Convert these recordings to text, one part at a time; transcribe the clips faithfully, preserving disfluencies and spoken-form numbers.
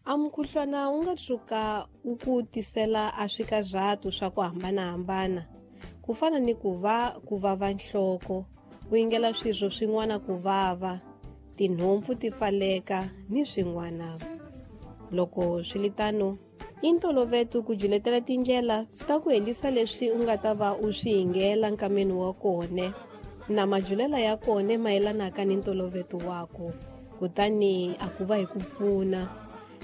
A mukhuhlwana wu nga tshuka wu ku tisela a swikazatu swa ku hambanahambana, ku fana ni ku va ku vava nhloko, u yingela swirho swin'wana ku vava, tinhompfu ti pfaleka ni swin'wana. Loko swi li tano, i ntoloveto ku juletela tindlela ta ku helisa leswi u nga ta va u swi yingela nkameni wa kone, na majulela ya kone mayelanaka ni ntoloveto waku, kutani a ku va hi ku pfuna.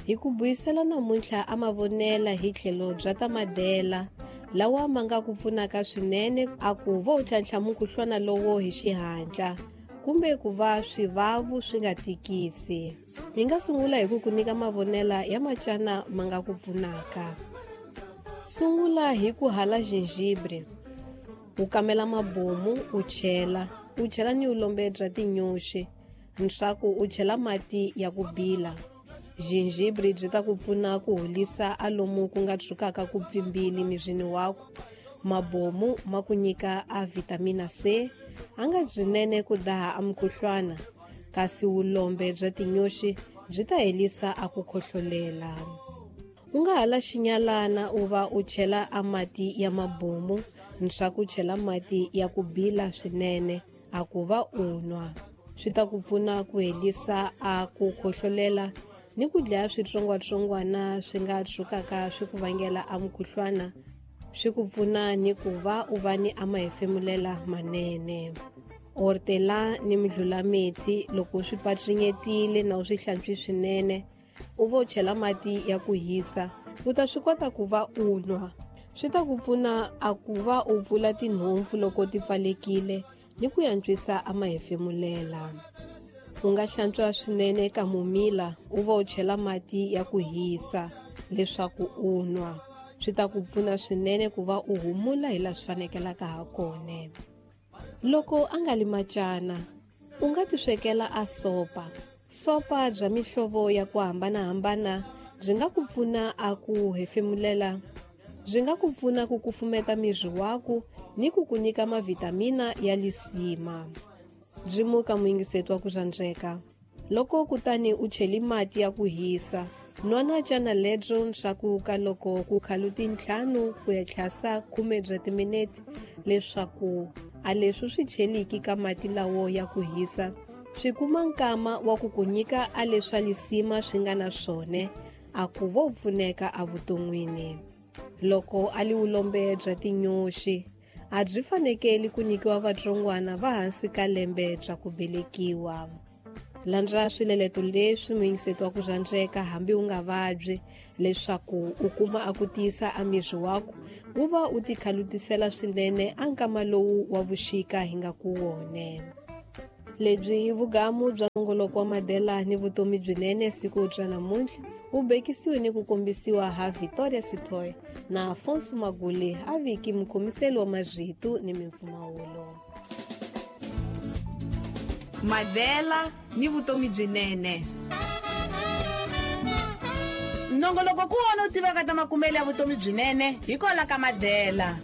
Hi ku buyisela namuntlha a mavonela hi tlhelo bya ta madela lawa ma nga ku pfunaka swinene a ku vo u tlhantlha mukhuhlwana lowo hi xihatla kumbe ku va swivavu swi nga tikisi. Hi nga sungula hi ku ku nyika mavonela ya macana ma nga ku pfunaka. Sungula hi ku hala gingibre, u kamela mabomu u chela, u chela ni ulombe bya tinyoxi, ntshaku u chela mati ya ku bila. Gingibre byi ta ku pfuna ku holisa a lomu ku nga tshukaka ku pfimbile mirini waku. Mabomu ma ku nyika a vitamina C, a nga byinene ku daha a mukhuhlwana, kasi vulombe bya tinyoxi byi ta helisa a ku khohlolela. U nga hala xinyalana u va u chela a mati ya mabomu, ntshaku chela mati ya ku bila swinene a ku va u nwa. Swi ta ku pfuna ku helisa a ku khohlolela ni ku dlaya switsongwatsongwana swi nga tshukaka swi ku vangela a mukhuhlwana, swi ku pfuna ni ku va u va ni a mahefemulela manene. Hortela ni midlulametsi loko swi patrinyetile na u swi hlantswi swinene, u vo chela mati ya ku hisa, u ta swi kota ku va u nwa. Swi ta ku pfuna a ku va u pfula tinhompfu loko ti pfalekile ni ku yantswisa a mahefemulela. U nga hlantswa swinene kamomila u va u chela mati ya ku hisa leswaku u nwa. Swi ta ku pfuna swinene ku va u humula hi laha swi fanekelaka ha kona. Loko a nga li macana, u nga tiswekela a sopa. Sopa bya mihlovo ya ku hambanahambana byi nga ku pfuna a ku hefemulela, byi nga ku pfuna ku kufumeta miri waku ni ku ku nyika mavitamina ya lisima. Byi muka muyingiseti wa ku rhandzeka. Loko kutani u cheli mati ya ku hisa, nwana cana lebyo ntshaku ka loko ku khalu tintlhanu ku ya tlhasa khume bya timinete leswaku a leswi swi cheliki ka mati lawo ya ku hisa swi kuma nkama wa ku ku nyika a leswa lisima swi nga na swone a ku vo pfuneka evuton'wini. Loko a li vulombe bya tinyoxi, a byi fanekeli ku nyikiwa vatsongwana va hansi ka lembe bya ku velekiwa. Landza swileleto leswi muyingiseti wa ku rhandzeka hambi u nga vabyi leswaku u kuma a ku tiyisa a miri waku wu va u tikhalutisela swinene a nkama lowu wa vuxika hi nga ku wone. Lebyi i vugamu bya nongoloko wa madela ni vutomi byinene siku bya namuntlha wu bekisiwe ni ku kombisiwa ha Victoria Sitoy na Afonso Magule a viki mukhomiseli wa marito ni mimpfumawulo. Madela ni vutomi byinene. Nongoloko ku wona u tivaka ta makumelo ya vutomi byinene hi kola ka Madela.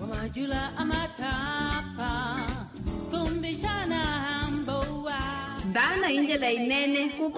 Dana hi ndlela yinene ku